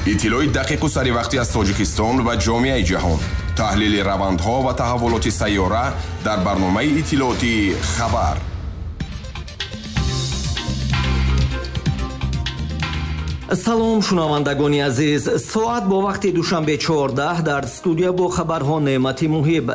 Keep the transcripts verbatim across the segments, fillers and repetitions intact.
Иттилои дақиқу саривақтӣ аз Тоҷикистон ва ҷомеаи ҷаҳон, таҳлили равандҳо ва таҳаввулоти сайёра дар барномаи иттилоотии «Хабар». Салом, шунавандагони азиз. Соат бо вақти Душанбе чордаҳ, дар студия бо хабарҳо Неъмати Муҳиб.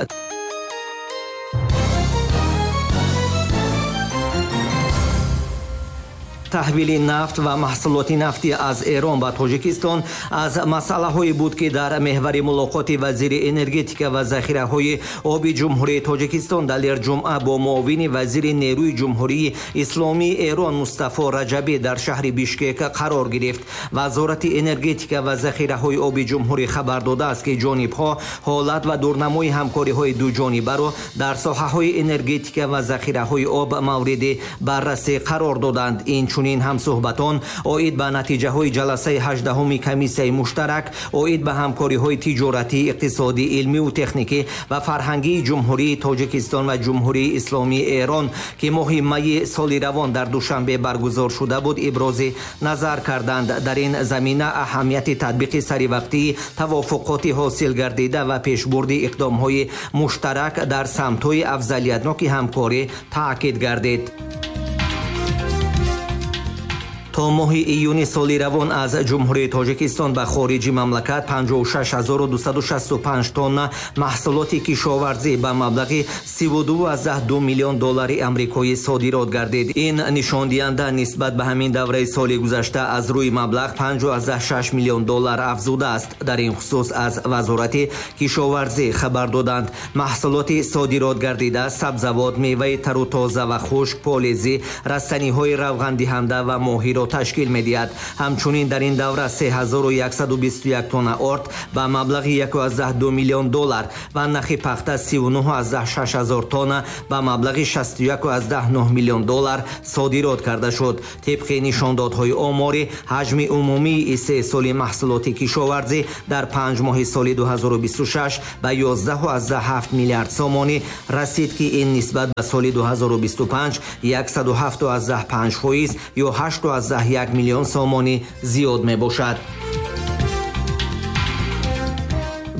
Таҳвили нафт ва маҳсулоти нафтӣ аз Эрон ба Тоҷикистон аз масъалаҳое буд, ки дар меҳвари мулоқоти вазири энергетика ва захираҳои оби Ҷумҳурии Тоҷикистон Далер Ҷумъа бо муовини вазири нерӯи Ҷумҳурии Исломии Эрон Мустафо Раҷабӣ дар шаҳри Бишкек қарор гирифт. Вазорати энергетика ва захираҳои оби ҷумҳурӣ хабар додааст, ки ҷонибҳо ҳолат ва дурнамои ҳамкориҳои дуҷонибаро дар соҳаҳои энергетика ва захираҳои об мавриди баррасӣ қарор доданд. Инчунин ҳамсӯҳбатон оид ба натиҷаҳои ҷаласаи ҳаждаҳуми комиссияи муштарак оид ба ҳамкориҳои тиҷоратӣ, иқтисодӣ, илмиву техникӣ ва фарҳангии Ҷумҳурии Тоҷикистон ва Ҷумҳурии Исломии Эрон, ки моҳи майи соли равон дар Душанбе баргузор шуда буд, ибрози назар карданд. Дар ин замина аҳамияти татбиқи саривақтии тавофуқоти ҳосил гардида ва пешбурди иқдомҳои муштарак дар самтҳои афзалиятноки ҳамкорӣ таъкид гардид. То моҳи июни соли равон аз Ҷумҳурии Тоҷикистон ба хориҷи мамлакат панҷоҳу шаш ҳазору дусаду шасту панҷ тонна маҳсулоти кишоварзӣ ба маблағи сиву ду аз даҳ ду миллион доллари амрикоӣ содирот гардид. Ин нишондиҳанда нисбат ба ҳамин давраи соли гузашта аз рӯи маблағ панҷу аз даҳ шаш миллион доллар афзудааст. Дар ин хусус аз Вазорати кишоварзӣ хабар доданд. Маҳсулоти содирот гардида сабзавот, меваи тару тоза ва хушк, полезӣ, растаниҳои равғандиҳанда ва моҳиро ташкил медиҳад. Ҳамчунин дар ин давра се ҳазору яксаду бисту як тонна орд ба маблағи яку аз даҳ ду миллион доллар ва нахи пахта сиву нӯҳ аз даҳ шаш ҳазор тонна ба маблағи шасту яку аз даҳ нӯҳ миллион доллар содирот карда шуд. Тибқи нишондодҳои оморӣ, ҳаҷми умумии истеҳсоли маҳсулоти кишоварзӣ дар панҷ моҳи соли ду ҳазору бисту шаш ба ёздаҳу аз даҳ ҳафт миллиард сомонӣ расид, ки ин нисбат ба соли ду ҳазору бисту панҷ яксаду ҳафту аз даҳ панҷ фоиз ё ҳашту аз даҳ як миллион сомонӣ зиёд мебошад.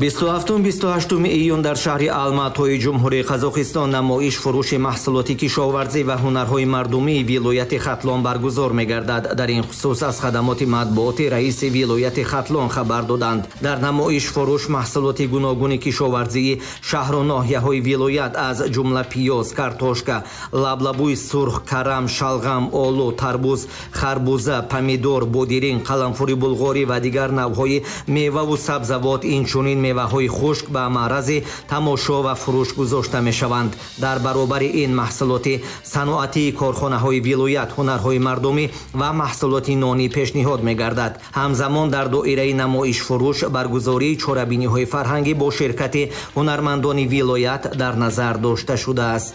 бисту ҳафтум бисту ҳаштуми июн дар шаҳри Алматои Ҷумҳурии Қазоқистон намоиш фурӯши маҳсулоти кишоварзӣ ва ҳунарҳои мардумии вилояти Хатлон баргузор мегардад. Дар ин хусус аз хадамоти матбуоти раиси вилояти Хатлон хабар доданд. Дар намоиш фурӯш маҳсулоти гуногуни кишоварзии шаҳру ноҳияҳои вилоят аз ҷумла пиёз, картошка, лаблабӯи сурх, карам, шалғам, олу, тарбуз, харбуза, помидор, бодиринг, қаламфури булғорӣ ва дигар навъҳои меваву сабзавот, инчунин меваҳои хушк ба маърази тамошо ва фурӯш гузошта мешаванд. Дар баробари ин маҳсулоти саноатии корхонаҳои вилоят, ҳунарҳои мардумӣ ва маҳсулоти нонӣ пешниҳод мегардад. Ҳамзамон дар доираи намоишфурӯш баргузории чорабиниҳои фарҳангӣ бо ширкати ҳунармандони вилоят дар назар дошта шудааст.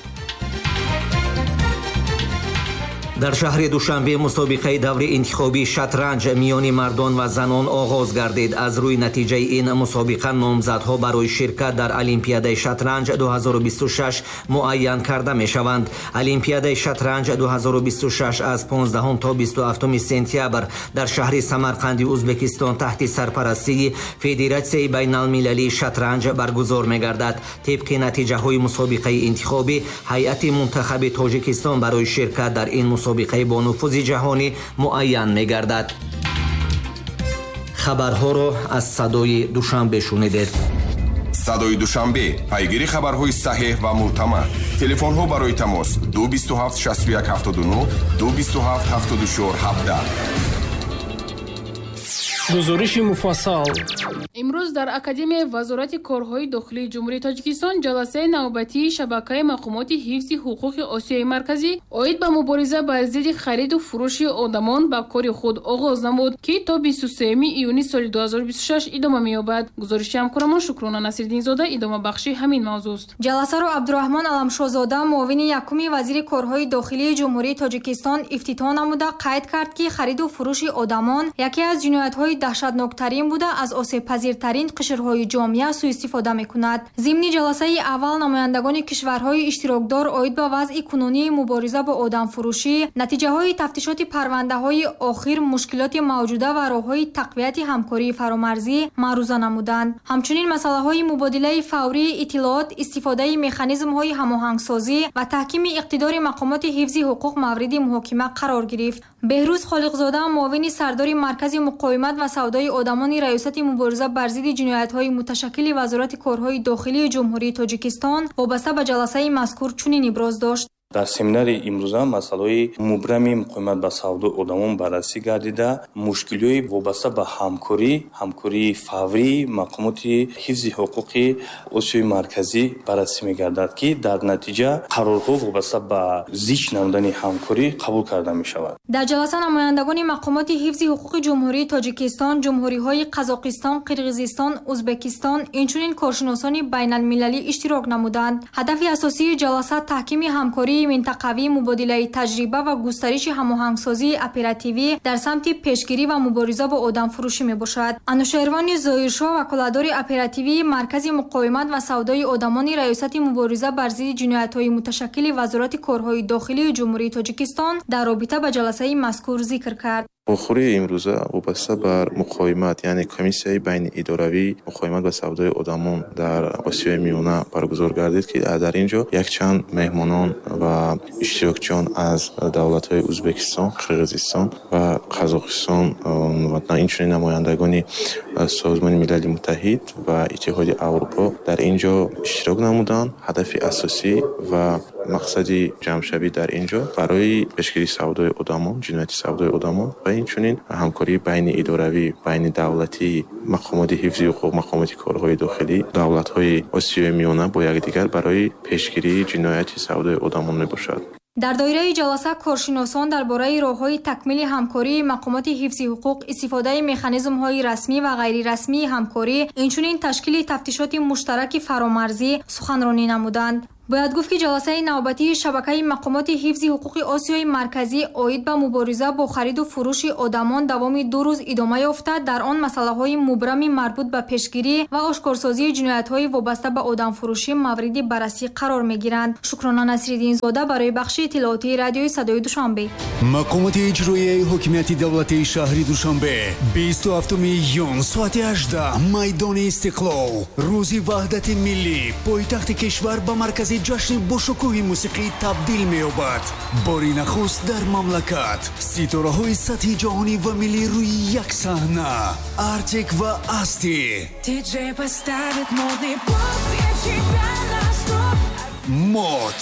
Дар шаҳри Душанбе мусобиқаи даври интихобии шатранҷ миёни мардон ва занон оғоз гардид. Аз рӯи натиҷаи ин мусобиқа номзадҳо барои ширкат дар Олимпиадаи шатранҷ ду ҳазору бисту шаш муайян карда мешаванд. Олимпиадаи шатранҷ ду ҳазору бисту шаш аз понздаҳум то бисту ҳафтуми сентябр дар шаҳри Самарқанди Ӯзбекистон таҳти сарпарастии Федератсияи байналмилалии шатранҷ баргузор мегардад. Тибқи натиҷаҳои мусобиқаи интихобӣ, ҳайати мунтахаби Тоҷикистон барои ширкат дар ин мусобиқа мусобиқаи бонуфузи ҷаҳонӣ муайян мегардад. Хабарҳоро аз Садои Душанбе шунидед. Садои Душанбе, пайгири хабарҳои саҳеҳ ва мӯътамад. Телефонҳо барои тамос ду бисту ҳафт шасту як ҳафтоду нӯҳ, ду бисту ҳафт ҳафтоду чор ҳабдаҳ. Гузориши муфассал. Имрӯз дар Академияи Вазорати корҳои дохилии Ҷумҳурии Тоҷикистон ҷаласаи навбатии шабакаи мақомоти ҳифзи ҳуқуқи Осиёи Марказӣ оид ба мубориза бар зидди хариду фурӯши одамон ба кори худ оғоз намуд, ки то бисту сеюми июни соли ду ҳазору бисту шаш идома меёбад. Гузориши ҳамкорамон Шукрона Насирддинзода идомабахши ҳамин мавзӯст. Ҷаласаро Абдураҳмон Аламшозода, муовини якуми вазири корҳои дохилии Ҷумҳурии Тоҷикистон ифтитоҳ намуда қайд кард, ки хариду фурӯши одамон яке аз ҷиноятҳои даҳшатноктарин буда, аз осебпазиртарин қишрҳои ҷомеа суистифода мекунад. Зимни ҷаласаи аввал намояндагони кишварҳои иштирокдор оид ба вазъи кунунии мубориза бо одамфурӯшӣ, натиҷаҳои тафтишоти парвандаҳои охир, мушкилоти мавҷуда ва роҳҳои тақвияти ҳамкории фаромарзӣ маъруза намуданд. Ҳамчунин масъалаҳои мубодилаи фаврии иттилоот, истифодаи механизмҳои ҳамоҳангсозӣ ва таҳкими иқтидори мақомоти ҳифзи ҳуқуқ мавриди муҳокима қарор гирифт. Беҳрӯз Холиқзода, муовини сардори Маркази муқовимат ва савдои одамони Раёсати мубориза бар зидди ҷиноятҳои муташаккили Вазорати корҳои дохилии Ҷумҳурии Тоҷикистон вобаста ба ҷаласаи мазкур чунин иброз дошт. Дар семинари имрӯза масъалаҳои мубрами муқовимат ба савдои одамон баррасӣ гардида, мушкилиҳои вобаста ба ҳамкорӣ, ҳамкории фаврии мақомоти ҳифзи ҳуқуқи Осиёи Марказӣ баррасӣ мегардад, ки дар натиҷа қарорҳо вобаста ба зич намудани ҳамкорӣ қабул карда мешавад. Дар ҷаласа намояндагони мақомоти ҳифзи ҳуқуқи Ҷумҳурии Тоҷикистон, ҷумҳуриҳои Қазоқистон, Қирғизистон, Ӯзбекистон, инчунин коршиносони байналмилалӣ иштирок намуданд. Ҳадафи асосии ҷаласа таҳкими ҳамкории минтақавӣ, мубодилаи таҷриба ва густариши ҳамоҳангсозии оперативӣ дар самти пешгирӣ ва мубориза бо одамфурӯшӣ мебошад. Анушервони Зоиршоҳ, ваколатдори оперативии Маркази муқовимат ва савдои одамони Раёсати мубориза бар зидди ҷиноятҳои муташаккили Вазорати корҳои дохилии Ҷумҳурии Тоҷикистон дар робита ба ҷаласаи мазкур зикр кард. Вохӯрии имрӯза вобаста бар муқовимат, яъне комиссияи байниидоравии муқовимат ба савдои одамон дар Осиёи Миёна баргузор гардид, ки дар ин ҷо якчанд меҳмонон ва иштирокчиён аз давлатҳои Ӯзбекистон, Қирғизистон ва Қазоқистон ва инчунин намояндагони Созмони Милали Муттаҳид ва Иттиҳоди Аврупо дар ин ҷо иштирок намуданд. Ҳадафи асосӣ ва мақсади ҷамъшавӣ дар ин ҷо барои пешгирии савдои одамон, ҷинояти савдои одамон ва инчунин ҳамкории байниидоравӣ, байнидавлатии мақомоти ҳифзи ҳуқуқ, мақомоти корҳои дохилӣ, давлатҳои Осиёи Миёна бо якдигар барои пешгирии ҷинояти савдои одамон мебошад. Дар доираи ҷаласа коршиносон дар бораи роҳҳои такмили ҳамкории мақомоти ҳифзи ҳуқуқ, истифодаи механизмҳои расмӣ ва ғайрирасмии ҳамкорӣ, инчунин ташкили тафтишоти муштараки фаромарзӣ суханронӣ намуданд. Бояд гуфт, ки ҷаласаи навбатии шабакаи мақомоти ҳифзи ҳуқуқи Осиёи Марказӣ оид ба мубориза бо хариду фурӯши одамон давоми ду рӯз идома ёфта, дар он масъалаҳои мубрами марбут ба пешгирӣ ва ошкорсозии ҷиноятҳои вобаста ба одамфурӯшӣ мавриди баррасӣ қарор мегиранд. Шукрона Насриддинзода барои бахши иттилоотии радиои Садои Душанбе. Мақомоти иҷроияи ҳокимияти давлатии шаҳри Душанбе бисту ҳафтуми июн соати ҳаждаҳ майдони Истиқлол, рӯзи ваҳдати миллӣ, пойтахти кишвар ба маркази ҷашни бошукӯҳи мусиқӣ табдил меёбад. Бори нахуст дар мамлакат ситораҳои сатҳи ҷаҳонӣ ва миллӣ рӯи як саҳна. Артик ва Асти, Мод,